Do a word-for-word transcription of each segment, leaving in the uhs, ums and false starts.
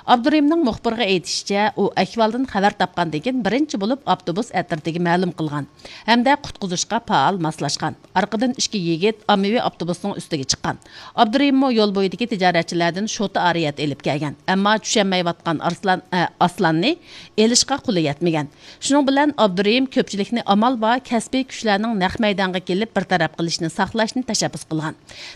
ئابدۇرېھىمنىڭ مۇخبىرغا ئېيتىشىچە، ئۇ ئەھۋالدىن خەۋەر تاپقاندىن كېيىن بىرىنچى بولۇپ ئاپتوبۇس ئەترىتىگە مەلۇم قىلغان ھەمدە قۇتقۇزۇشقا پائال ماسلاشقان. ئارقىدىن ئىككى يىگىت ئاممىۋى ئاپتوبۇسنىڭ ئۈستىگە چىققان. ئابدۇرېھىممۇ يول بويىدىكى تىجارەتچىلەردىن شوتا ئارىيەت ئېلىپ كەلگەن، ئەمما چۈشەنمەيۋاتقان ئارسلان، ئە، ئاسلاننى ئېلىشقا قولى يەتمىگەن. شۇنىڭ بىلەن ئابدۇرېھىم كۆپچىلىكنى ئامال بار كەسپىي كۈچلەرنىڭ نەق مەيدانغا كېلىپ بىر تەرەپ قىلىشىنى ساقلاشنى تەشەببۇس قىلغان.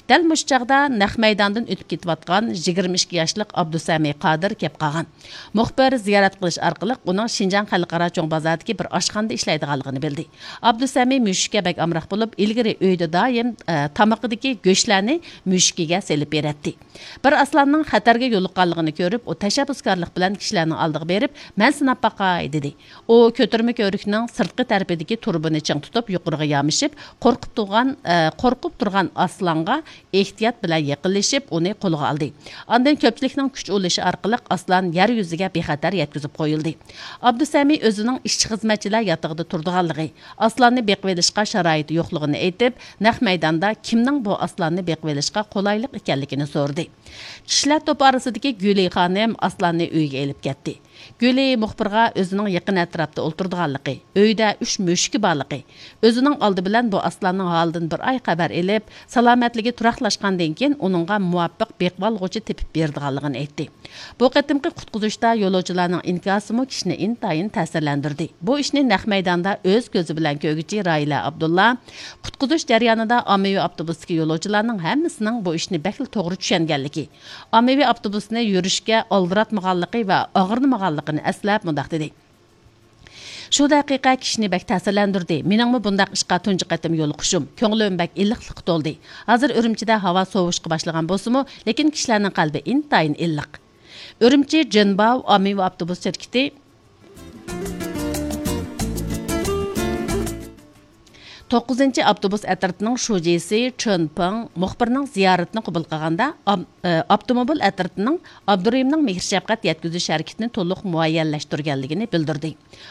دەل مۇشۇ چاغدا نەق مەيداندىن ئۆتۈپ كېتىۋاتقان يىگىرمە ئىككى ياشلىق ئابدۇسەمى قادىر كەپ قالغان. مۇخبىر زىيارەت قىلىش ئارقىلىق ئۇنىڭ شىنجاڭ خەلقئارا چوڭ بازاردىكى بىر ئاشخانىدا ئىشلەيدىغانلىقىنى بىلدى. ئابدۇسەمى مۈشۈككە بەك ئامراق بولۇپ، ئىلگىرى ئۆيدە دائىم، ئە، تامىقىدىكى گۆشلەرنى مۈشۈكىگە سېلىپ بېرەتتى. بىر ئاسلاننىڭ خەتەرگە يولۇققانلىقىنى كۆرۈپ، ئۇ تەشەببۇسكارلىق بىلەن كىشىلەرنىڭ ئالدىغا بېرىپ، مەن سىناپ باقاي، دېدى. ئۇ كۆتۈرمە كۆۋرۈكنىڭ سىرتقى تەرىپىدىكى تۇرۇبىنى چىڭ تۇتۇپ، يۇقىرىغا يامىشىپ، قورقۇپ تۇرغان، ئە، قورقۇپ تۇرغان ئاسلانغا ئېھتىيات بىلەن يېقىنلىشىپ، ئۇنى قولىغا ئالدى. ئاندىن كۆپچىلىكنىڭ كۈچ ئۇلىشى ئارقىلىق ئاسلان يەر يۈزىگە بىخەتەر يەتكۈزۈپ قويۇلدى. ئابدۇسەمى ئۆزىنىڭ ئىشچى-خىزمەتچىلەر ياتىقىدا تۇرىدىغانلىقى، ئاسلاننى بېقىۋېلىشقا شارائىتى يوقلۇقىنى ئېيتىپ، نەق مەيداندا كىمنىڭ بۇ ئاسلاننى بېقىۋېلىشقا قولايلىق ئىكەنلىكىنى سورىدى. كىشىلەر توپى ئارىسىدىكى گۈلى خانىم ئاسلاننى ئۆيىگە ئېلىپ كەتتى. گۈلى مۇخبىرغا ئۆزىنىڭ يېقىن ئەتراپتا ئولتۇرىدىغانلىقى، ئۆيدە ئۈچ مۈشۈكى بارلىقى، ئۆزىنىڭ ئالدى بىلەن بۇ ئاسلاننىڭ ھالىدىن بىر ئاي خەۋەر ئېلىپ، سالامەتلىكى تۇراقلاشقاندىن كېيىن ئۇنىڭغا مۇۋاپىق بېقىۋالغۇچى تېپىپ بېرىدىغانلىقىنى ئېيتتى. بۇ قېتىمقى قۇتقۇزۇشتا يولۇچىلارنىڭ ئىنكاسىمۇ كىشىنى ئىنتايىن تەسىرلەندۈردى. بۇ ئىشنى نەق مەيداندا ئۆز كۆزى بىلەن كۆرگۈچى راھىلە ئابدۇللا قۇتقۇزۇش جەريانىدا ئاممىۋى ئاپتوبۇستىكى يولۇچىلارنىڭ ھەممىسىنىڭ بۇ ئىشنى بەكلا توغرا چۈشەنگەنلىكى، ئاممىۋى ئاپتوبۇسنى يۈرۈشكە ئالدىراتمىغانلىقى ۋە ئاغرىنمىغانلىقىنى ئەسلەپ مۇنداق دېدى: شۇ دەقىقە كىشىنى بەك تەسىرلەندۈردى. مېنىڭمۇ بۇنداق ئىشقا تۇنجى قېتىم يولۇقۇشۇم. كۆڭلۈم بەك ئىللىقلىققا تولدى. ھازىر ئۈرۈمچىدە ھاۋا سوۋۇشقا باشلىغان بولسىمۇ، لېكىن كىشىلەرنىڭ قەلبى ئىنتايىن ئىللىق. ئۈرۈمچى جېنباۋ ئاممىۋى ئاپتوبۇس شىركىتى توققۇزىنچى ئاپتوبۇس ئەترىتىنىڭ شۇجىسى چېن پېڭ مۇخبىرنىڭ زىيارىتىنى قوبۇل قىلغاندا، ئام-، ئە، ئاپتوموبىل ئەترىتىنىڭ ئابدۇرېھىمنىڭ مېھىر-شەپقەت يەتكۈزۈش ھەرىكىتىنى تولۇق مۇئەييەنلەشتۈرگەنلىكىنى بىلدۈردى.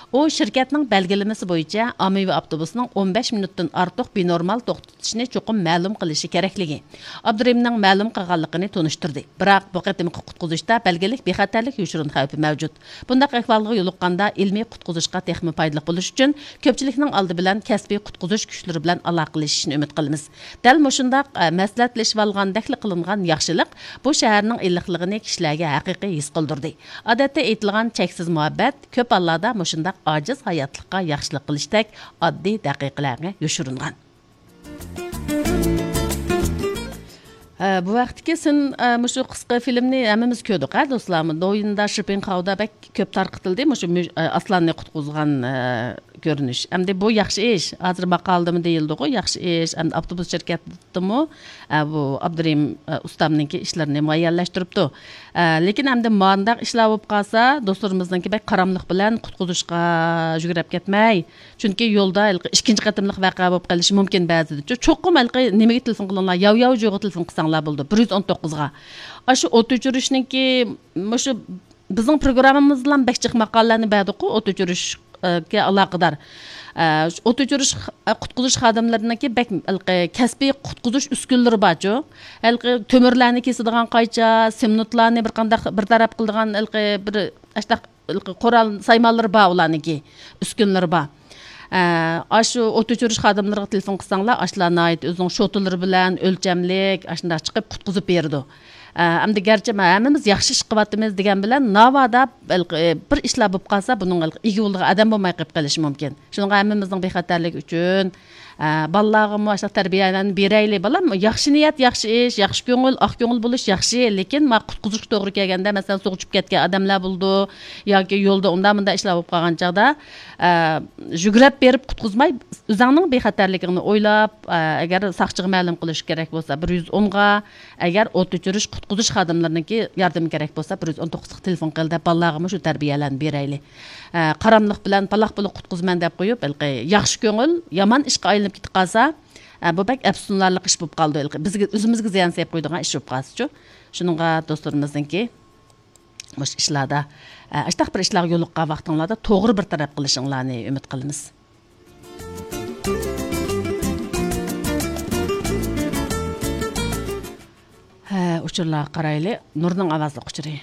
ئۇ شىركەتنىڭ بەلگىلىمىسى بويىچە ئاممىۋى ئاپتوبۇسنىڭ ئون بەش مىنۇتتىن ئارتۇق بىنورمال توختىتىشنى چوقۇم مەلۇم قىلىشى كېرەكلىكى، ئابدۇرېھىمنىڭ مەلۇم قىلغانلىقىنى تونۇشتۇردى. بىراق بۇ قېتىمقى قۇتقۇزۇشتا بەلگىلىك بىخەتەرلىك يوشۇرۇن خەۋپى مەۋجۇت. بۇنداق ئەھۋالغا يولۇققاندا ئىلمىي قۇتقۇزۇشقا تېخىمۇ پايدىلىق بولۇش ئۈچۈن كۆپچىلىكنىڭ ئالدى بىلەن كەسپىي قۇتقۇزۇش كۈچلىرى بىلەن ئالاقىلىشىشنى ئۈمىد قىلىمىز. دەل مۇشۇنداق، ئە، مەسلىھەتلىشىۋالغاندەكلا قىلىنغان ياخشىلىق بۇ شەھەرنىڭ ئىللىقلىقىنى كىشىلەرگە ھەقىقىي ھېس قىلدۇردى. ئادەتتە ئېيتىلغان چەكسىز مۇھەببەت كۆپ ھاللاردا مۇشۇنداق ئاجىز ھاياتلىققا ياخشىلىق قىلىشتەك ئاددىي دەقىقىلەرگە يوشۇرۇنغان. ھە، بۇ ۋاقىتتىكى سىن، ئە، مۇشۇ قىسقا فىلىمنى ھەممىمىز كۆردۇق، ھە، دوستلار؟ دويىندا شىپىڭخاۋدا بەك كۆپ تارقىتىلدى، مۇشۇ مۈ-، ئە، ئاسلاننى قۇتقۇزغان، ئە، كۆرۈنۈش. ئەمدى بۇ ياخشى ئىش. ھازىر ماقالىدىمۇ دېيىلدىغۇ، ياخشى ئىش. ئەمدى ئاپتوبۇس شىركەتتىمۇ، ئە، بۇ ئابدۇرېھىم، ئە، ئۇستامنىڭكى ئىشلىرىنى مۇئەييەنلەشتۈرۈپتۇ. ئە، لېكىن ئەمدى مانداق ئىشلار بولۇپ قالسا، دوستلىرىمىزنىڭكى بەك قاراملىق بىلەن قۇتقۇزۇشقا يۈگرەپ كەتمەي، چۈنكى يولدا ھېلىقى ئىككىنچى قېتىملىق ۋەقە بولۇپ قېلىشى مۇمكىن بەزىدە. چوقۇم ھېلىقى نېمىگە تېلېفون قىلىڭلار، ياۋياۋجۇغا تېلېفون قىلساڭلار بولىدۇ، بىر يۈز ئون توققۇزغا. ئاشۇ ئوت ئۆچۈرۈشنىڭكى مۇشۇ بىزنىڭ پروگراممىمىزدىلا بەك جىق ماقالىلەرنى بەردۇققۇ، ئوت ئۆچۈرۈشكە ئالاقىدار. ئە، ئوت ئۆچۈرۈش، ئە، قۇتقۇزۇش خادىملىرىنىڭكى بەك ھېلىقى كەسپىي قۇتقۇزۇش ئۈسكۈنىلىرى بارچۇ. ھېلىقى تۆمۈرلەرنى كېسىدىغان قايچا، سېمونتلارنى بىر قانداق بىر تەرەپ قىلىدىغان ھېلىقى بىر ئاشۇنداق قورال سايمانلىرى بار ئۇلارنىڭكى، ئۈسكۈنىلىرى بار. ئە، ئاشۇ ئوت ئۆچۈرۈش خادىملىرىغا تېلېفون قىلساڭلار، ئاشۇلار ناھايىتى ئۆزىنىڭ شوتىلىرى بىلەن ئۆلچەملىك ئاشۇنداق چىقىپ قۇتقۇزۇپ بېرىدۇ. ئە، ئەمدى گەرچە مە-، ھەممىمىز ياخشى ئىش قىلىۋاتىمىز دېگەن بىلەن، ناۋادا بىر ئىشلار بولۇپ قالسا، بۇنىڭ ئىگە بولىدىغان ئادەم بولماي قېلىپ قېلىشى مۇمكىن. شۇنىڭغا ھەممىمىزنىڭ بىخەتەرلىكى ئۈچۈن، ئە، بالىلارغىمۇ ئاشۇنداق تەربىيەلەرنى بېرەيلى. بالام، ياخشى نىيەت، ياخشى ئىش، ياخشى كۆڭۈل، ئاق كۆڭۈل بولۇش ياخشى، لېكىن ما قۇتقۇزۇشقا توغرا كەلگەندە، مەسىلەن، سۇغا چۈشۈپ كەتكەن ئادەملەر بولىدۇ ياكى يولدا ئۇنداق مۇنداق ئىشلار بولۇپ قالغان چاغدا، ئە، يۈگرەپ بېرىپ قۇتقۇزماي، ئۆزۈڭنىڭ بىخەتەرلىكىڭنى ئويلاپ، ئە، ئەگەر ساقچىغا مەلۇم قىلىش كېرەك بولسا، بىر يۈز ئونغا، ئەگەر ئوت ئۆچۈرۈش، قۇتقۇزۇش خادىملىرىنىڭكى ياردىمى كېرەك بولسا، بىر يۈز ئون توققۇزغا تېلېفون قىل دەپ، بالىلارغىمۇ شۇ تەربىيەلەرنى بېرەيلى. ئە، قاراملىق بىلەن پالاق پۇلۇق قۇتقۇزىمەن دەپ قويۇپ، ھېلىقى ياخشى كۆڭۈل يامان ئىشقا ئايلىنىپ كېتىپ قالسا، ئە، بۇ بەك ئەپسۇسلىنارلىق ئىش بولۇپ قالىدۇ. ھېلىقى بىزگە، ئۆزىمىزگە زىيان سېلىپ قويىدىغان ئىش بولۇپ قالسىچۇ. شۇنىڭغا دوستلىرىمىزنىڭكى مۇشۇ ئىشلاردا، ئە، ئاشۇنداق بىر ئىشلارغا يولۇققان ۋاقتىڭلاردا توغرا بىر تەرەپ قىلىشىڭلارنى ئۈمىد قىلىمىز. ھە، ئۇچۇرلارغا قارايلى. نۇرنىڭ ئاۋازلىق ئۇچۇرى.